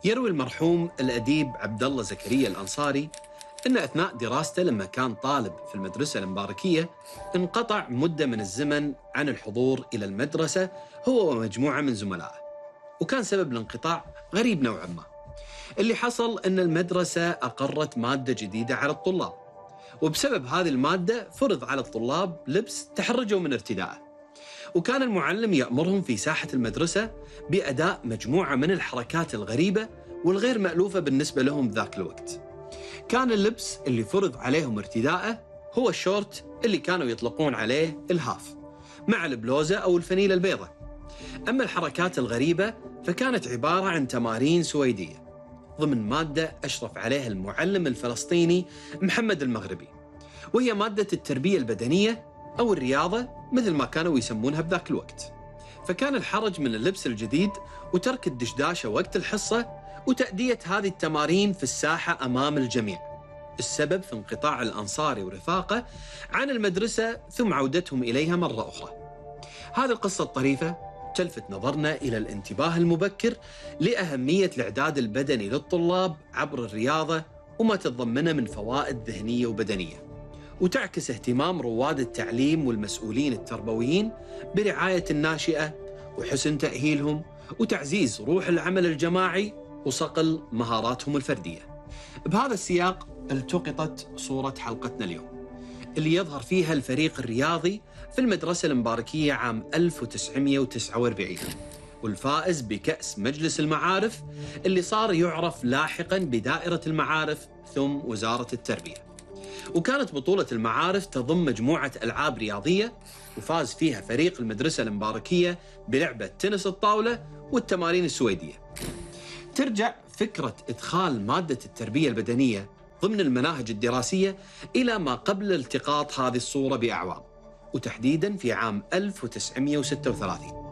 يروي المرحوم الأديب عبد الله زكريا الأنصاري أن أثناء دراسته لما كان طالب في المدرسة المباركية انقطع مدة من الزمن عن الحضور إلى المدرسة هو ومجموعة من زملائه، وكان سبب الانقطاع غريب نوعا ما. اللي حصل أن المدرسة أقرت مادة جديدة على الطلاب، وبسبب هذه المادة فرض على الطلاب لبس تحرجوا من ارتدائه، وكان المعلم يأمرهم في ساحة المدرسة بأداء مجموعة من الحركات الغريبة والغير مألوفة بالنسبة لهم ذاك الوقت. كان اللبس اللي فرض عليهم ارتداءه هو الشورت اللي كانوا يطلقون عليه الهاف مع البلوزة أو الفنيلة البيضاء. أما الحركات الغريبة فكانت عبارة عن تمارين سويدية ضمن مادة أشرف عليها المعلم الفلسطيني محمد المغربي، وهي مادة التربية البدنية أو الرياضة مثل ما كانوا يسمونها بذاك الوقت. فكان الحرج من اللبس الجديد وترك الدشداشة وقت الحصة وتأدية هذه التمارين في الساحة أمام الجميع السبب في انقطاع الأنصاري ورفاقه عن المدرسة ثم عودتهم إليها مرة أخرى. هذه القصة الطريفة تلفت نظرنا إلى الانتباه المبكر لأهمية الإعداد البدني للطلاب عبر الرياضة وما تتضمنه من فوائد ذهنية وبدنية، وتعكس اهتمام رواد التعليم والمسؤولين التربويين برعاية الناشئة وحسن تأهيلهم وتعزيز روح العمل الجماعي وصقل مهاراتهم الفردية. بهذا السياق التقطت صورة حلقتنا اليوم اللي يظهر فيها الفريق الرياضي في المدرسة المباركية عام 1949 والفائز بكأس مجلس المعارف اللي صار يعرف لاحقاً بدائرة المعارف ثم وزارة التربية. وكانت بطولة المعارف تضم مجموعة ألعاب رياضية وفاز فيها فريق المدرسة المباركية بلعبة تنس الطاولة والتمارين السويدية. ترجع فكرة إدخال مادة التربية البدنية ضمن المناهج الدراسية إلى ما قبل التقاط هذه الصورة بأعوام، وتحديداً في عام 1936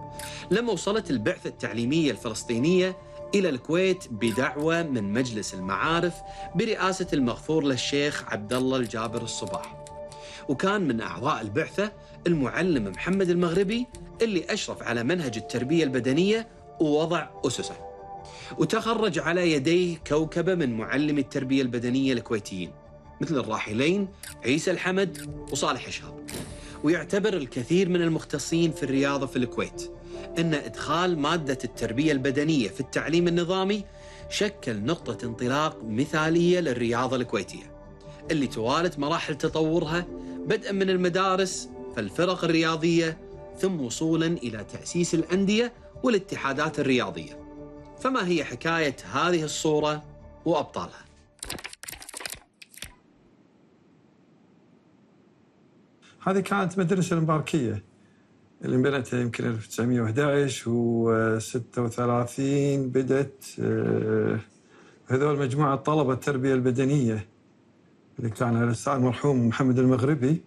لما وصلت البعثة التعليمية الفلسطينية إلى الكويت بدعوة من مجلس المعارف برئاسة المغفور للشيخ عبد الله الجابر الصباح. وكان من أعضاء البعثة المعلم محمد المغربي اللي أشرف على منهج التربية البدنية ووضع أسسه، وتخرج على يديه كوكبة من معلمي التربية البدنية الكويتيين مثل الراحلين عيسى الحمد وصالح شهاب. ويعتبر الكثير من المختصين في الرياضة في الكويت أن إدخال مادة التربية البدنية في التعليم النظامي شكل نقطة انطلاق مثالية للرياضة الكويتية اللي توالت مراحل تطورها بدءا من المدارس فالفرق الرياضية ثم وصولا إلى تأسيس الأندية والاتحادات الرياضية. فما هي حكاية هذه الصورة وأبطالها؟ هذه كانت مدرسة المباركية اللي انبنت يمكن 1911 و36 بدت هذول مجموعة طلبة التربية البدنية اللي كان الأستاذ المرحوم محمد المغربي،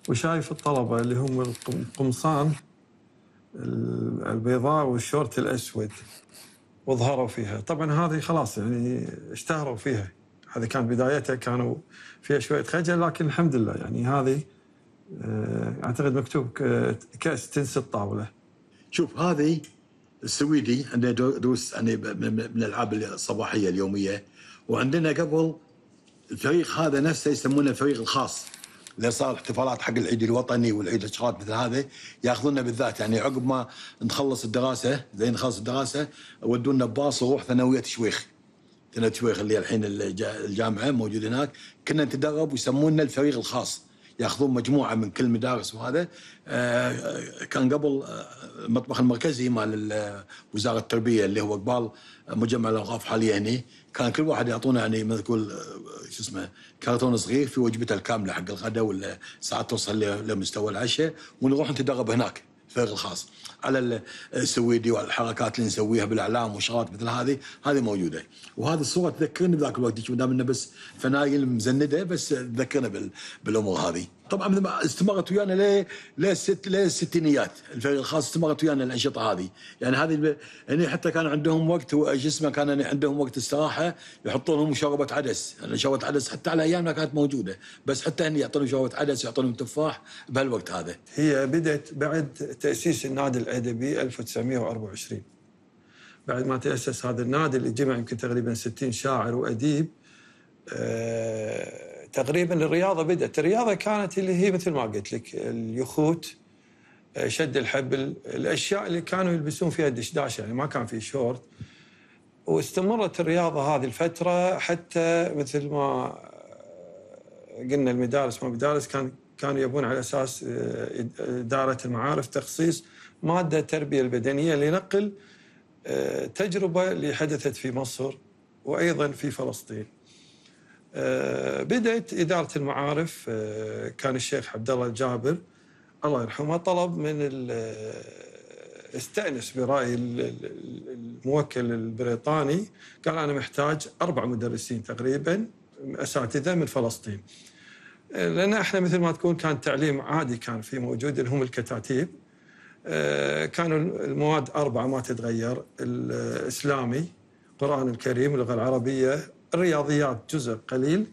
وشايف الطلبة اللي هم القمصان البيضاء والشورت الأسود وظهروا فيها. طبعا هذه خلاص يعني اشتهروا فيها، هذه كانت بدايتها كانوا فيها شوية خجل، لكن الحمد لله يعني هذه اعتقد مكتوب كأس تنس الطاولة. شوف هذه السويدي عندنا دروس يعني من الالعاب الصباحيه اليوميه، وعندنا قبل الفريق هذا نفسه يسمونه الفريق الخاص اللي صار احتفالات حق العيد الوطني والعيد الشغلات مثل هذا ياخذونا بالذات، يعني عقب ما نخلص الدراسه زين نخلص الدراسه ودونا بباص ونروح ثانويه شويخ اللي الحين الجامعه موجود هناك، كنا نتدرب ويسمونا الفريق الخاص، ياخذون مجموعه من كل مدارس. وهذا كان قبل المطبخ المركزي مال وزاره التربيه اللي هو قبال مجمع الاوقاف حاليا هنا، كان كل واحد يعطونا يعني مثل تقول شو اسمه كرتون صغير في وجبته الكامله حق الغداء ولا ساعات توصل لمستوى العشاء، ونروح نتدرب هناك الفريق الخاص على السويدي والحركات اللي نسويها بالاعلام وشغلات مثل هذه موجوده. وهذه الصوره تذكرني بذاك الوقت، ما دام انه بس فنايل مزنده بس تذكرنا بالامور هذه. طبعا مثل ما استمرت ويانا للستينيات، الفريق الخاص استمرت ويانا الانشطه هذه، يعني هذه يعني حتى كان عندهم وقت جسمه كان عندهم وقت استراحه يحطون لهم مشروبه عدس، يعني شوربه عدس حتى على ايامنا كانت موجوده، بس حتى هني يعطونهم شوربه عدس يعطونهم تفاح بهالوقت هذا. هي بدت بعد تاسيس النادي الادبي 1924، بعد ما تأسس هذا النادي اللي جمع يمكن تقريبا 60 شاعر وأديب. تقريبا الرياضة كانت اللي هي مثل ما قلت لك اليخوت، شد الحبل، الأشياء اللي كانوا يلبسون فيها الدشداش، يعني ما كان في شورت. واستمرت الرياضة هذه الفترة حتى مثل ما قلنا المدارس ما مدارس، كانوا يبون على أساس إدارة المعارف تخصيص مادة التربية البدنية لنقل تجربة اللي حدثت في مصر وأيضا في فلسطين. بدأت إدارة المعارف، كان الشيخ عبد الله الجابر الله يرحمه طلب من استأنس برأي الموكل البريطاني، قال أنا محتاج 4 مدرسين تقريبا أساتذة من فلسطين، لأن احنا مثل ما تكون كان تعليم عادي كان في موجود اللي هم الكتاتيب. كانوا المواد 4 ما تتغير: الإسلامي، القرآن الكريم، اللغة العربية، الرياضيات جزء قليل،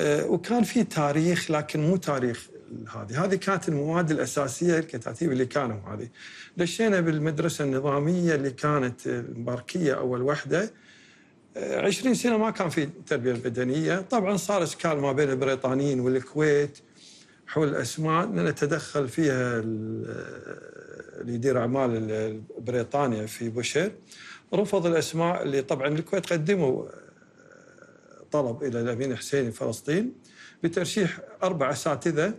وكان في تاريخ لكن مو تاريخ. هذه كانت المواد الأساسية الكتاتيب اللي كانوا هذه. دشينا بالمدرسة النظامية اللي كانت المباركية أول وحدة. 20 سنة ما كان في التربية البدنية. طبعا صار إشكال ما بين البريطانيين والكويت حول الأسماء، لأن تدخل فيها اللي يدير أعمال بريطانيا في بوشير، رفض الأسماء اللي طبعا الكويت قدموا طلب إلى الأمين الحسيني فلسطين بترشيح 4 أساتذة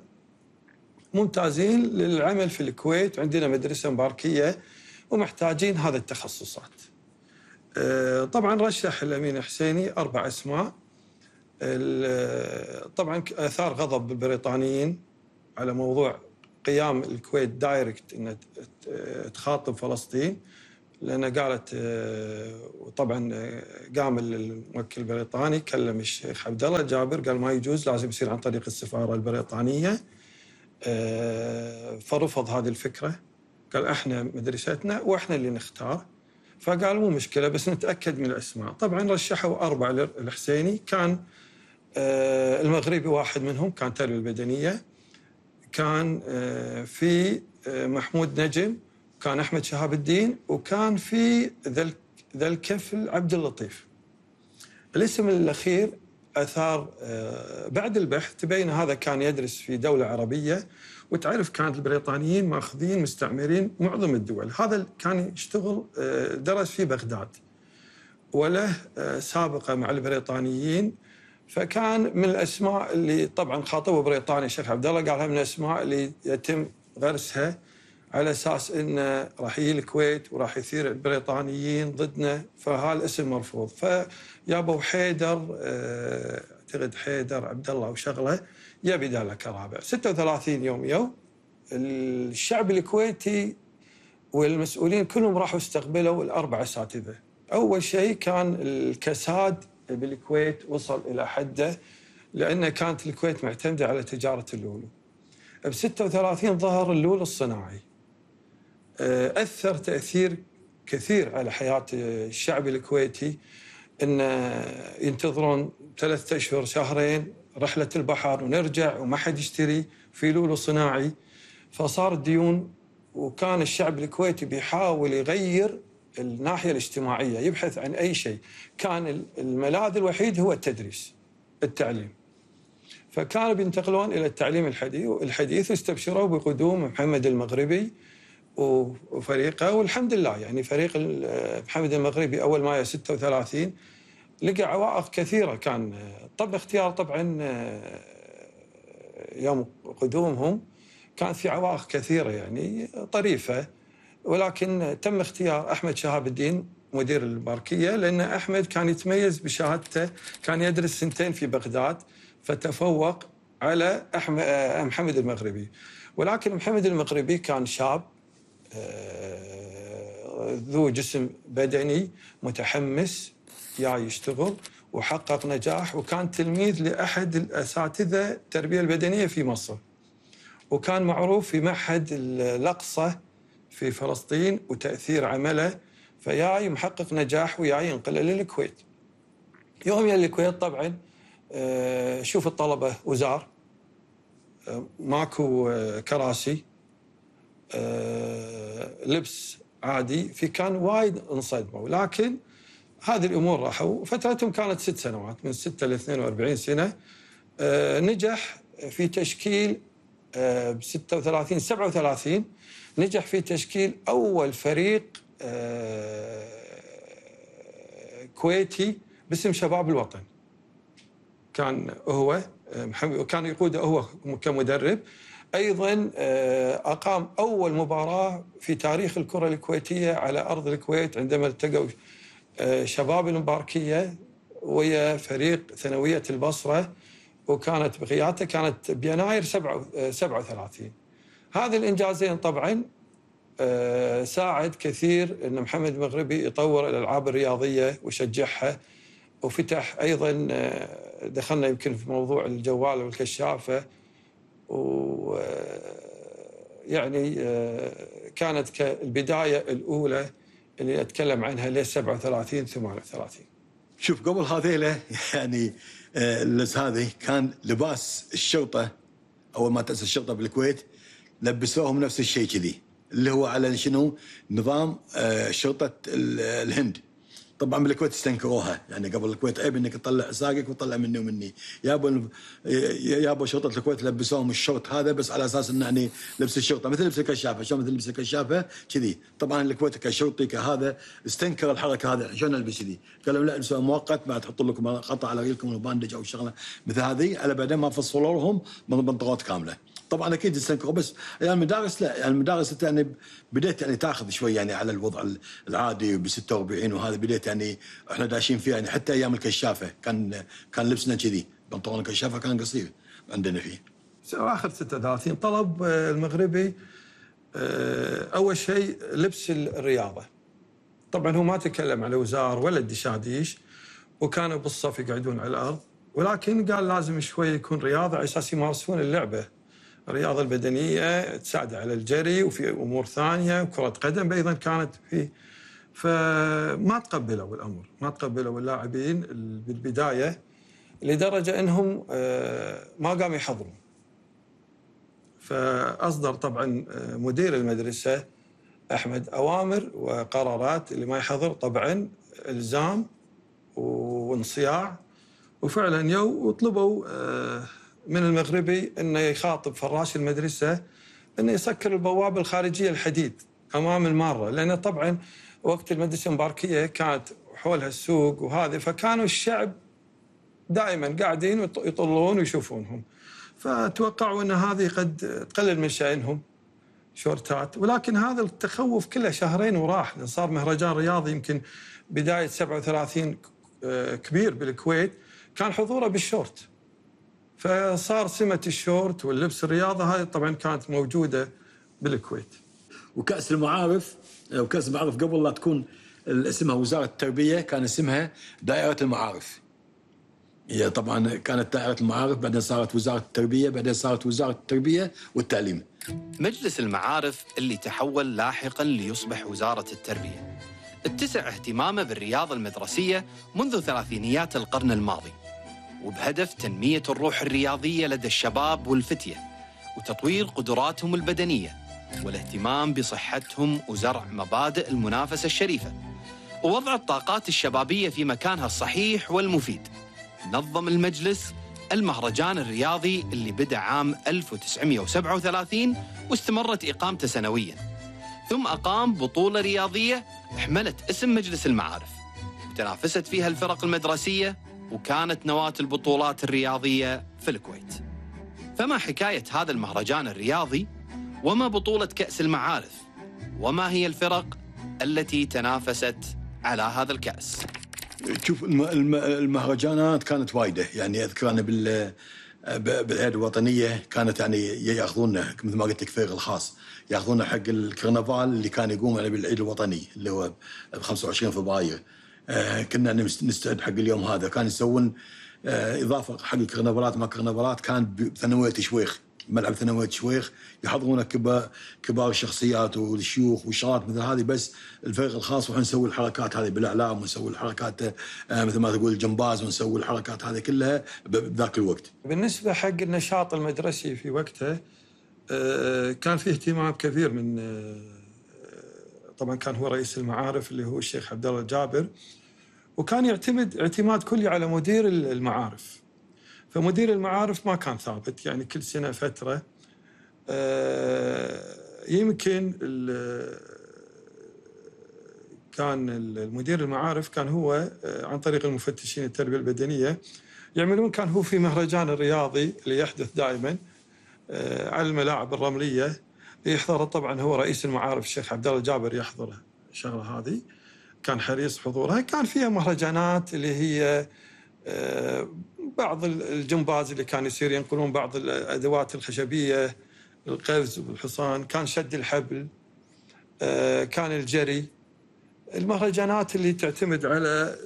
ممتازين للعمل في الكويت، عندنا مدرسة مباركية ومحتاجين هذا التخصصات. طبعا رشح الأمين الحسيني 4 أسماء. طبعا أثار غضب البريطانيين على موضوع قيام الكويت دايركت أن تخاطب فلسطين، لأن قالت وطبعا قام الموكل البريطاني كلم الشيخ عبد الله الجابر قال ما يجوز، لازم يصير عن طريق السفارة البريطانية. فرفض هذه الفكرة، قال احنا مدرستنا واحنا اللي نختار. فقال مو مشكلة بس نتأكد من الأسماء. طبعا رشحوا 4 للحسيني، كان المغربي واحد منهم، كان تربية البدنية، كان في محمود نجم، كان أحمد شهاب الدين، وكان في ذا الكفل عبد اللطيف. الاسم الأخير أثار بعد البحث تبين هذا كان يدرس في دولة عربية، وتعرف كانت البريطانيين ماخذين مستعمرين معظم الدول. هذا كان يشتغل درس في بغداد وله سابقة مع البريطانيين، فكان من الأسماء اللي طبعا خاطبه بريطاني الشيخ عبد الله، قالها من الأسماء اللي يتم غرسها على أساس إنه راح يجي الكويت وراح يثير البريطانيين ضدنا، فهالاسم مرفوض. فيابو حيدر، اعتقد حيدر عبد الله وشغله، يبي داله كرابع. 36 يوم الشعب الكويتي والمسؤولين كلهم راحوا استقبلوا ال4 أساتذة. أول شيء كان الكساد بالكويت وصل إلى حده، لأن كانت الكويت معتمدة على تجارة اللولو. ب36 ظهر اللولو الصناعي، أثر تأثير كثير على حياة الشعب الكويتي، إن ينتظرون 3 أشهر شهرين رحلة البحر ونرجع وما حد يشتري في لولو صناعي، فصار ديون. وكان الشعب الكويتي بيحاول يغير الناحية الاجتماعية، يبحث عن أي شيء، كان الملاذ الوحيد هو التدريس، التعليم. فكانوا بينتقلون إلى التعليم الحديث، واستبشروا بقدوم محمد المغربي وفريقه. والحمد لله يعني فريق محمد المغربي أول مايو 36 لقى عوائق كثيرة. كان طب اختيار طبعا يوم قدومهم كانت في عوائق كثيرة يعني طريفة، ولكن تم اختيار أحمد شهاب الدين مدير المباركية، لأن أحمد كان يتميز بشهادته، كان يدرس 2 سنين في بغداد فتفوق على محمد المغربي. ولكن محمد المغربي كان شاب ذو جسم بدني متحمس جاي يشتغل، وحقق نجاح، وكان تلميذ لأحد الأساتذة التربية البدنية في مصر، وكان معروف في معهد الأقصى في فلسطين وتأثير عمله، فياي محقق نجاح وياي ينقله للكويت. يوم يا الكويت طبعا شوف الطلبة وزار، ماكو كراسي، لبس عادي، في كان وايد انصدموا، لكن هذه الامور راحوا. فترتهم كانت 6 سنوات، من 6 ل 42 سنه. نجح في تشكيل ب 36 37 نجح في تشكيل اول فريق كويتي باسم شباب الوطن. كان هو كان يقوده هو كمدرب. ايضا اقام اول مباراه في تاريخ الكره الكويتيه على ارض الكويت، عندما التقوا شباب المباركيه ويا فريق ثانويه البصره، وكانت بقيادته كانت بيناير 37. هذه الانجازين طبعا ساعد كثير ان محمد المغربي يطور الالعاب الرياضيه ويشجعها، وفتح ايضا دخلنا يمكن في موضوع الجوال والكشافه، ويعني كانت البدايه الاولى اللي اتكلم عنها ل 37 38. شوف قبل هذيله يعني هذه كان لباس الشرطه اول ما تاسس الشرطه بالكويت لبسوهم نفس الشيء كذي، اللي هو على شنو؟ نظام شرطه الهند. طبعا بالكويت استنكروها، يعني قبل الكويت عيب انك تطلع ساقك وتطلع مني ومني. يابا شرطه الكويت لبسوهم الشرط هذا بس على اساس انه يعني لبس الشرطه مثل لبس الكشافه، شلون مثل لبس الكشافه كذي. طبعا الكويت كشرطي كهذا استنكر الحركه هذا، شلون البس كذي؟ قالوا لا البسوها مؤقت، ما تحطوا لكم قطع على رجلكم وباندج او شغله مثل هذه، على بعدين ما فصلوا لهم بنطلونات كامله. طبعا اكيد استنكروا، بس يعني المدارس لا، يعني المدارس يعني بديت يعني تاخذ شوي يعني على الوضع العادي ب 46 وهذا بديت يعني احنا داشين فيه، يعني حتى ايام الكشافه كان لبسنا كذي، بنطلون الكشافه كان قصير عندنا فيه. اخر 36 طلب المغربي اول شيء لبس الرياضه. طبعا هو ما تكلم على وزار ولا الدشاديش، وكانوا بالصف يقعدون على الارض، ولكن قال لازم شوي يكون رياضه على اساس يمارسون اللعبه. الرياضه البدنيه تساعد على الجري، وفي امور ثانيه، كره قدم ايضا كانت فيه. فما تقبلوا الامر، ما تقبلوا اللاعبين بالبدايه، لدرجه انهم ما قاموا يحضرون. فاصدر طبعا مدير المدرسه احمد اوامر وقرارات اللي ما يحضر طبعا الزام وانصياع. وفعلا وطلبوا من المغربي انه يخاطب فراش المدرسه انه يسكر البوابه الخارجيه الحديد امام الماره، لان طبعا وقت المدرسه المباركيه كانت حولها السوق وهذه، فكانوا الشعب دائما قاعدين يطلون ويشوفونهم، فتوقعوا ان هذه قد تقلل من شأنهم شورتات. ولكن هذا التخوف كله شهرين وراح، لأن صار مهرجان رياضي يمكن بدايه 37 كبير بالكويت، كان حضوره بالشورت، فصار سمة الشورت واللبس الرياضة هاي طبعا كانت موجودة بالكويت. وكأس المعارف قبل لا تكون اسمها وزارة التربية كان اسمها دائرة المعارف. هي طبعا كانت دائرة المعارف، بعدين صارت وزارة التربية، بعدين صارت وزارة التربية والتعليم. مجلس المعارف اللي تحول لاحقا ليصبح وزارة التربية اتسع اهتمامه بالرياضة المدرسية منذ ثلاثينيات القرن الماضي، وبهدف تنمية الروح الرياضية لدى الشباب والفتية، وتطوير قدراتهم البدنية، والاهتمام بصحتهم، وزرع مبادئ المنافسة الشريفة، ووضع الطاقات الشبابية في مكانها الصحيح والمفيد. نظم المجلس المهرجان الرياضي اللي بدأ عام 1937 واستمرت إقامته سنوياً، ثم أقام بطولة رياضية حملت اسم مجلس المعارف، وتنافست فيها الفرق المدرسية، وكانت نواة البطولات الرياضية في الكويت. فما حكاية هذا المهرجان الرياضي؟ وما بطولة كأس المعارف؟ وما هي الفرق التي تنافست على هذا الكأس؟ شوف المهرجانات كانت وايدة، يعني أذكر أنا بالعيد الوطنية كانت يعني ياخذونا مثل ما قلت لك فريق الخاص، ياخذونا حق الكرنفال اللي كان يقوم يعني بالعيد الوطني اللي هو ب 25 فبراير. كنا نستعد حق اليوم هذا، كان يسوون إضافة حق الكرنفالات، ما كرنفالات كان بثانوية شويخ، ملعب ثانوية شويخ، يحضرون كبار الشخصيات والشيوخ والشغلات مثل هذه، بس الفريق الخاص وحنا نسوي الحركات هذه بالاعلام، ونسوي الحركات مثل ما تقول الجمباز، ونسوي الحركات هذه كلها بذاك الوقت. بالنسبه حق النشاط المدرسي في وقته كان فيه اهتمام كبير من طبعا كان هو رئيس المعارف اللي هو الشيخ عبد الله الجابر، وكان يعتمد اعتماد كلي على مدير المعارف. فمدير المعارف ما كان ثابت، يعني كل سنة فترة. يمكن كان المدير المعارف كان هو عن طريق المفتشين التربية البدنية يعملون، كان هو في مهرجان الرياضي اللي يحدث دائما على الملاعب الرملية يحضره. طبعا هو رئيس المعارف الشيخ عبد الله الجابر يحضره الشغلة هذه، كان حريص حضورها. كان فيها مهرجانات اللي هي بعض الجمباز اللي كان يصير ينقلون بعض الأدوات الخشبية، القفز والحصان، كان شد الحبل، كان الجري. المهرجانات اللي تعتمد على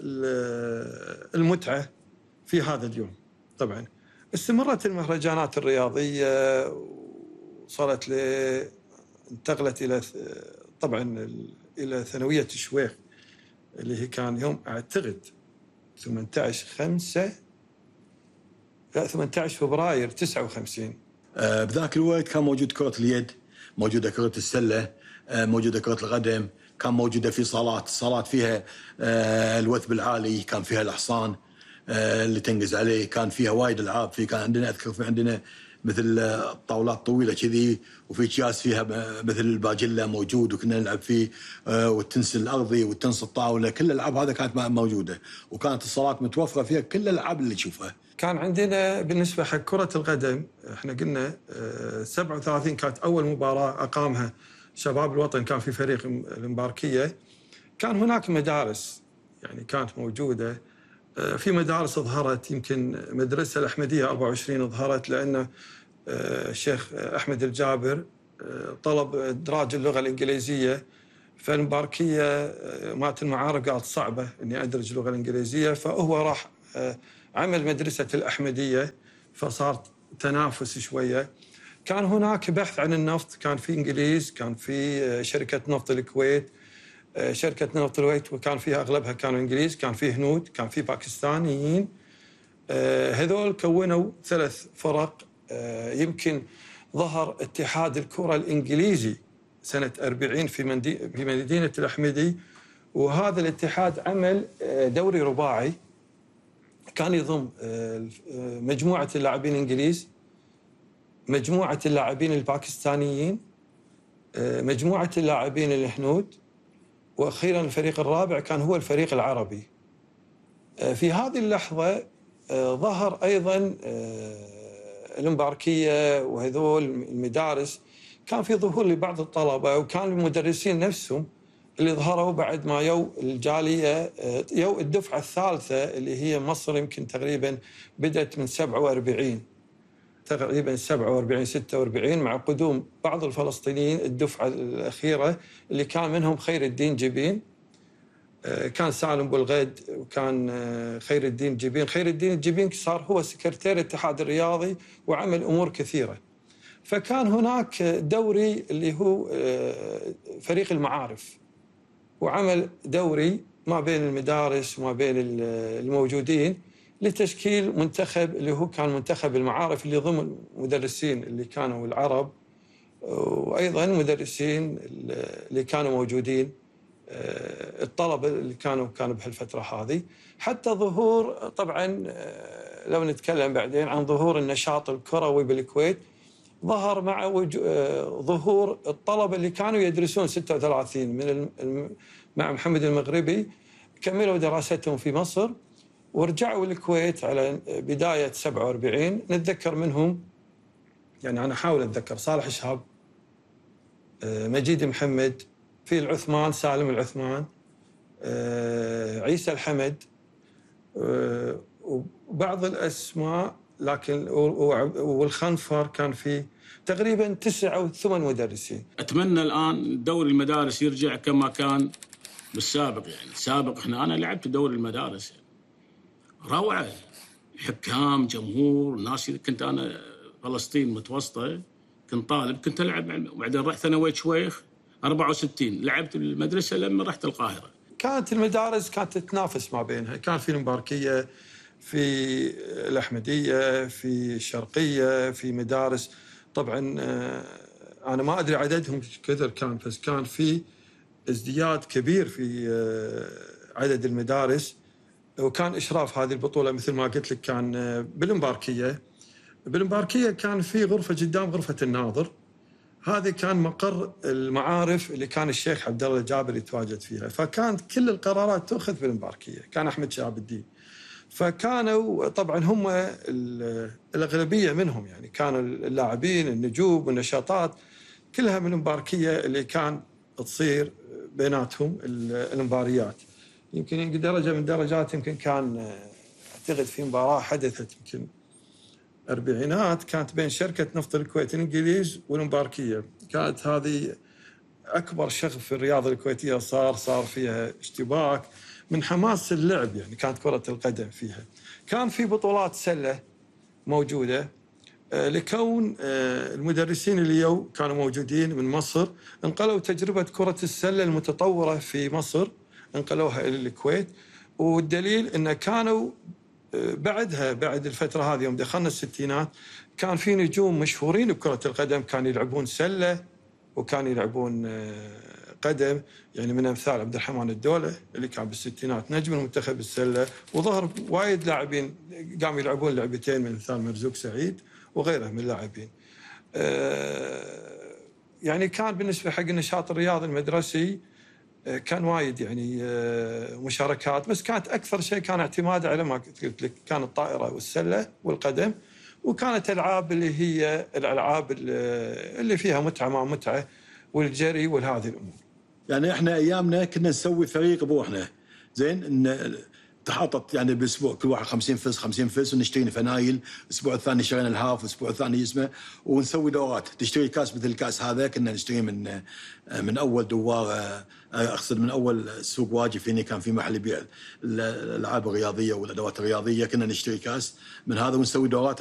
المتعة في هذا اليوم. طبعا استمرت المهرجانات الرياضية وصلت انتقلت إلى طبعا إلى ثانوية الشويخ اللي هي كان يوم أعتقد 18 فبراير 59. بذاك الوقت كان موجود كرة اليد، موجودة كرة السلة، موجودة كرة القدم، كان موجودة في صالات فيها الوثب العالي، كان فيها الحصان اللي تنقز عليه، كان فيها وايد ألعاب. كان عندنا أذكر في عندنا مثل طاولات طويلة كذي، وفي أكياس فيها مثل الباجلة موجود وكنا نلعب فيه، والتنس الأرضي والتنس الطاولة، كل الألعاب هذا كانت موجودة، وكانت الصالات متوفرة فيها كل الألعاب اللي تشوفها. كان عندنا بالنسبة حق كرة القدم احنا قلنا 37 كانت أول مباراة أقامها شباب الوطن، كان في فريق المباركية. كان هناك مدارس يعني كانت موجودة، في مدارس ظهرت، يمكن مدرسة الأحمدية 24 ظهرت لأن الشيخ أحمد الجابر طلب إدراج اللغة الإنجليزية. فالمباركية مات المعارف قالت صعبة إني أدرج اللغة الإنجليزية، فهو راح عمل مدرسة الأحمدية، فصار تنافس شوية. كان هناك بحث عن النفط، كان في إنجليز، كان في شركة نفط الكويت، شركة نفط الكويت وكان فيها أغلبها كانوا إنجليز، كان في هنود، كان في باكستانيين. هذول كونوا 3 فرق. يمكن ظهر اتحاد الكرة الإنجليزي سنة 40 في مدينة الأحمدي، وهذا الاتحاد عمل دوري رباعي كان يضم مجموعة اللاعبين الإنجليز، مجموعة اللاعبين الباكستانيين، مجموعة اللاعبين الهنود، وأخيراً الفريق الرابع كان هو الفريق العربي. في هذه اللحظة ظهر أيضاً المباركية وهذول المدارس، كان في ظهور لبعض الطلبة، وكان المدرسين نفسهم اللي ظهروا بعد ما الجالية الدفعة الثالثة اللي هي مصر، يمكن تقريباً بدأت من 47 تقريباً 46 مع قدوم بعض الفلسطينيين الدفعة الأخيرة اللي كان منهم خير الدين جبين، كان سالم بولغيد، وكان خير الدين جبين. خير الدين جبين صار هو سكرتير الاتحاد الرياضي وعمل أمور كثيرة. فكان هناك دوري اللي هو فريق المعارف، وعمل دوري ما بين المدارس وما بين الموجودين لتشكيل منتخب اللي هو كان منتخب المعارف، اللي ضمن المدرسين اللي كانوا العرب، وأيضاً مدرسين اللي كانوا موجودين الطلبة اللي كانوا بهالفترة هذه. حتى ظهور طبعاً لو نتكلم بعدين عن ظهور النشاط الكروي بالكويت، ظهر مع ظهور الطلبة اللي كانوا يدرسون 36 مع محمد المغربي، كملوا دراستهم في مصر ورجعوا الكويت على بداية 47. نتذكر منهم يعني أنا أحاول أتذكر صالح شهاب، مجيد محمد، في العثمان سالم العثمان، عيسى الحمد، وبعض الأسماء، لكن والخنفر كان في تقريبا 9 أو 8 مدرسين. أتمنى الآن دوري المدارس يرجع كما كان بالسابق. يعني السابق أنا لعبت دوري المدارس يعني. روعة، حكام، جمهور، ناس. كنت أنا فلسطين متوسطة، كنت طالب، كنت ألعب، وبعدين رحت ثانوية شويخ 64 لعبت المدرسة لما رحت القاهرة. كانت المدارس كانت تتنافس ما بينها، كان في المباركية، في الأحمدية، في الشرقية، في مدارس. طبعا أنا ما أدري عددهم كثر كان، بس كان في ازدياد كبير في عدد المدارس، وكان إشراف هذه البطولة مثل ما قلت لك كان بالمباركية. بالمباركية كان في غرفة قدام غرفة الناظر، هذه كان مقر المعارف اللي كان الشيخ عبد الله الجابر يتواجد فيها، فكانت كل القرارات تؤخذ بالمباركية، كان أحمد شهاب الدين. فكانوا طبعا هم الأغلبية منهم، يعني كانوا اللاعبين النجوم والنشاطات كلها من المباركية اللي كان تصير بيناتهم المباريات. يمكن درجة من درجات، يمكن كان أعتقد في مباراة حدثت يمكن الأربعينات، كانت بين شركة نفط الكويت الإنجليز والمباركية. كانت هذه أكبر شغف في الرياضة الكويتية، صار فيها اشتباك من حماس اللعب، يعني كانت كرة القدم فيها. كان في بطولات سلة موجودة، لكون المدرسين اللي كانوا موجودين من مصر انقلوا تجربة كرة السلة المتطورة في مصر، انقلوها إلى الكويت. والدليل أن كانوا بعدها، بعد الفترة هذه يوم دخلنا الستينات، كان في نجوم مشهورين بكرة القدم كانوا يلعبون سلة وكانوا يلعبون قدم، يعني من أمثال عبد الرحمن الدولة اللي كان بالستينات نجم المنتخب السلة، وظهر وايد لاعبين قاموا يلعبون لعبتين من أمثال مرزوق سعيد وغيره من اللاعبين. يعني كان بالنسبة حق النشاط الرياضي المدرسي كان وايد يعني مشاركات، بس كانت أكثر شيء كان اعتماد على ما قلت لك، كانت الطائرة والسلة والقدم، وكانت ألعاب اللي هي الألعاب اللي فيها متعة مع متعة، والجري وهذه الأمور. يعني إحنا أيامنا كنا نسوي فريق بروحنا، زين، إن تحطت يعني بالاسبوع كل واحد 50 فلس 50 فلس، ونشتري فنايل. الاسبوع الثاني شرينا الهاف، الاسبوع الثاني اسمه، ونسوي دورات. تشتري كاس مثل الكاس هذا كنا نشتريه من اول دوار، اقصد من اول سوق واجف، هنا كان في محل يبيع الالعاب الرياضيه والادوات الرياضيه، كنا نشتري كاس من هذا ونسوي دورات.